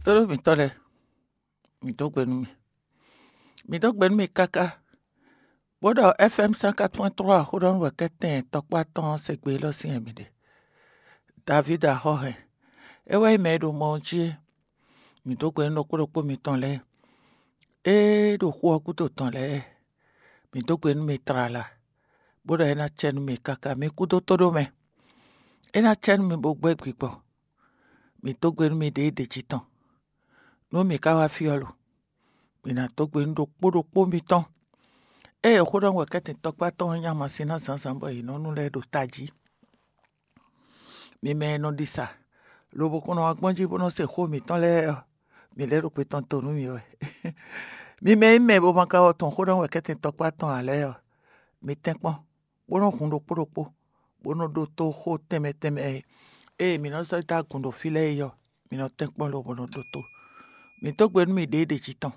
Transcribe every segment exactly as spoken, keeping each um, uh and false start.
Tlóló mǐtɔn lɛ́ɛ, mǐ dó gbe nú mi. Mǐ dó gbe nú mi káká, bó ɖɔ F M cent quatre point trois xó ɖɔ nú wɛ̌kɛ́tɛn tɔkpá tɔn ɔ́ se gbe élɔ́ sín wɛ mǐ ɖe. Davídi axɔ́ hɛn, é wɛ nyí mɛ e ɖo mɔ ɔ́ jí é. Mǐ dó gbe nú ɖokpó ɖokpó mitɔn lɛ́ɛ, é ɖo xu ɔ́ gúdo tɔn lɛ́ɛ. Mǐ dó gbe nú mi tlala, bó ɖɔ é ná cɛ nú mi káká. Mi kú dó tó ɖó mɛ, é ná cɛ nú mi bó gbɛ́ gbigbɔ. Mǐ dó gbe nú mi ɖěe ɖě jí tɔn. Nú mǐ ka wá fí ɔ́ lo, mǐ ná dó gbe nú ɖokpó ɖokpó mitɔn. Ée xó ɖɔ wɛ̌kɛ́tɛn tɔkpá tɔn ɔ́ nyí amasin ná zǎnzǎn bɔ è nɔ nu lɛ́ɛ ɖo tají. Mi mɛ e nɔ ɖi sa, lobo kɔn nɔ wá gbɔn jí bó nɔ se xó mǐtɔn lɛ́ɛ ɔ́, mǐ lɛ́ ɖo kpe tɔn to nú mi wɛ. Mi mɛ e nyí mɛ bo ma ka wɔ tɔn xó ɖɔ wɛ̌kɛ́tɛn tɔkpá tɔn ǎ lɛ́ɛ ɔ́, mi tɛ́nkpɔ́n, bó nɔ́ hun ɖokpó ɖokpó, bó nɔ́ ɖótó xó tɛnmɛ tɛnmɛ e ée mǐ nɔ́ sɔ́ dó agun ɖo fí lɛ́ɛ é ɔ́, mi nɔ tɛ́nkpɔ́n lobo nɔ ɖótó. Mǐ dó gbe nú mi ɖěe ɖě jí tɔn,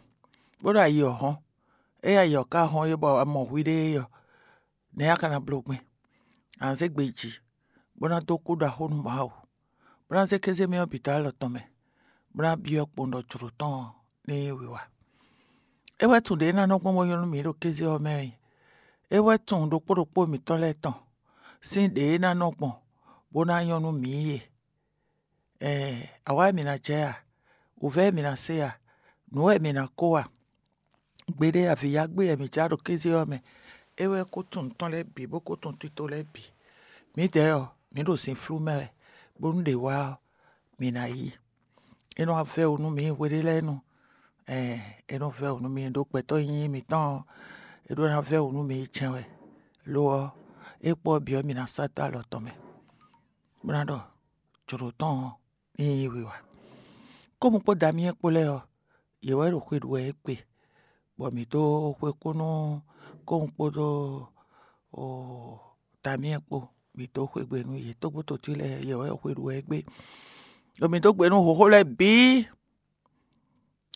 bó ɖo ayi ɔ́ hɔ́n. Ée ayi ɔ́ ka hɔ́n é bɔ a mɔ hwiɖée é ɔ́, nɛ̌ a ka ná bló gbɛn? A nǎ zé gbe yi jǐ, bó ná dó kú ɖaxó nú Mawu, bó ná zé kéze mɛ ɔ́ bǐ dó alɔ tɔn mɛ, bó ná byɔ́ kpowun ɖɔ jlǒ tɔn ɔ́ ní nyí wiwa. É wɛ tunwun ɖě ná nɔ gbɔn bó nyɔ́ nú mǐ ɖo kéze ɔ́ mɛ ɔ́. É wɛ tunwun ɖokpó ɖokpó mǐtɔn lɛ́ɛ tɔn sín ɖě ná nɔ gbɔn bó ná nyɔ́ nú mǐ é. Ɛɛ, awǎ wɛ mǐ ná jɛ a? Wǔvɛ́ wɛ mǐ ná se a? Nǔ wɛ mǐ ná kó a? Gbeɖé avǐyágbe wɛ mǐ já ɖo kéze ɔ́ mɛ. É wɛ kó tunwun tɔn lɛ́ɛ bǐ, bó kó tunwun tito lɛ́ɛ bǐ. Mǐdɛɛ ɔ́, mǐ ɖo sin flú mɛ wɛ, bónú ɖě wá ɔ́, mǐ ná yí. É nɔ wá vɛ́ wǔ nú mǐ hwe ɖé lɛ́ɛ nu. Ɛɛ, é nɔ vɛ́ wǔ nú mǐ ɖó gbɛtɔ́ nyínyí mǐtɔn ɔ́, é ɖó ná vɛ́ wǔ nú mǐ yi jɛ́n wɛ. Lo ɔ́, é kpó ɔ́ bǐ ɔ́, mǐ ná sɔ́ dó alɔ tɔn mɛ, bó ná ɖɔ jlǒ tɔn ɔ́ ní nyí wiwa. Kómu kpó Damiyɛ́ɛ kpó lɛ́ɛ ɔ́, yě wɛ ɖo xwe ɖu wɛ égbé, bɔ mǐ dó xwe kú nú Kómu kpódó Damiyɛ́ɛ kpó, mǐ dó xwe gbe nú yě tógbótotí lɛ́ɛ, yě wɛ xwe ɖu wɛ égbé. Ɖo mǐ dó gbe nú hǒxo lɛ́ɛ bǐ.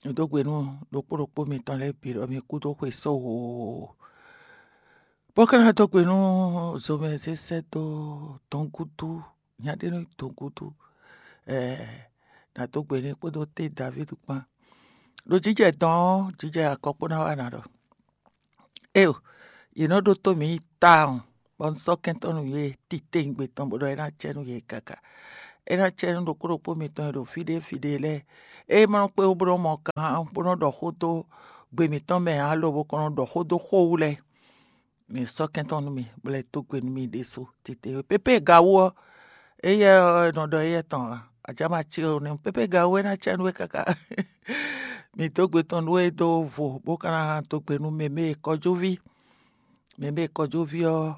Mǐ dó gbe nú ɖokpó ɖokpó mitɔn lɛ́ɛ bǐ ɖɔ mi kú dó xwe só hoo. Bó ka ná dó gbe nú zomɛ zé sɛ́ dó dɔ̌ngúdú, nya ɖé nɔ nyí dɔ̌ngúdú. Ɛɛ, nǎ dó gbe n'i kpódó té Davídi kpán. Ɖo jǐjɛ dɔn ɔ́, jǐjɛ akɔ kpó ná wá ná ɖɔ. Éyo, yě nɔ ɖótó mǐ yi tawun, bɔ un sɔ́ kɛntɔ́ nú yě titewungbe tɔn bó ɖɔ é ná cɛ nú yě káká. É ná cɛ nú ɖokpó ɖokpó mitɔn e ɖo fí ɖé fí ɖé lɛ́ɛ. É ma nɔ kpé wú bó nɔ́ mɔ kan bó nɔ́ ɖɔ xó dó gbe mǐtɔn mɛ ǎ, lobo kɔn nɔ ɖɔ xó dó xó wú lɛ́ɛ. Mi sɔ́ kɛntɔ́ nú mi, bó lɛ́ dó gbe nú mi ɖésú titewungbe. Pépé ga wú ɔ́, éyɛ́ ɔ́, è nɔ ɖɔ éyɛ́ tɔn ǎ. Ajá ma cí o nɛ́ pépé ga wú é ná cɛ nú we káká. Mi dó gbe tɔn nú we dó vo, bó ka ná dó gbe nú mɛ mɛ e kɔjúví. Mɛ mɛ e kɔjúví ɔ́,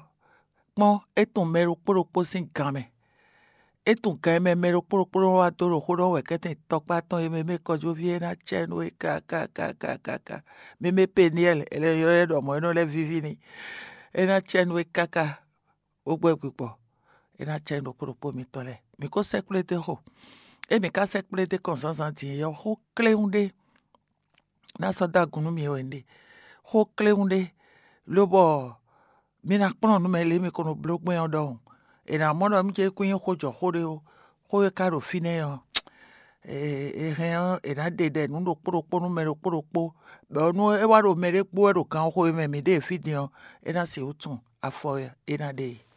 kpɔ́n, é tunwun mɛ ɖokpó ɖokpó sín gan mɛ. É tunwun gan e mɛ mɛ ɖokpó ɖokpó nɔ wá dó ɖo xó ɖɔ wɛ kɛ́tɛn tɔkpá tɔn e mɛ mɛ kɔjúví é ná cɛ nú we káká. Mɛ mɛ Peniɛ́l, è lɛ́ ylɔ́ ɛ ɖɔ mɔ̌ é nɔ lɛ́ víví n'i. É ná cɛ nú we káká, bó gbɛ́ gbigbɔ. É ná cɛ nú ɖokpó ɖokpó mitɔn lɛ́ɛ. Mǐ ko sɛ́ kplé dó xo. É mǐ ka sɛ́ kplé dó kɔn zǎnzǎn din é ɔ́, xó kléwún ɖé ná sɔ́ dó agun nú mi wɛ un ɖe. Xó kléwún ɖé, lobɔ mi ná kplɔ́n nǔ mɛ lě mi ko nɔ bló gbɛn ɔ́ ɖɔhun. È nǎ mɔ ɖɔ mí ce kún nyí xó jɔ xó ɖé ó, xó e ka ɖo fínɛ́ ɔ́, è hɛn ɔ́, è nǎ ɖe ɖɛ nǔ ɖokpó ɖokpó nú mɛ ɖokpó ɖokpó, bɔ nú é wá ɖo mɛ ɖé kpó wɛ ɖo gan xo e mɛ mǐ ɖe fí din ɔ́, é ná sixú tunwun afɔ e é ná ɖe e.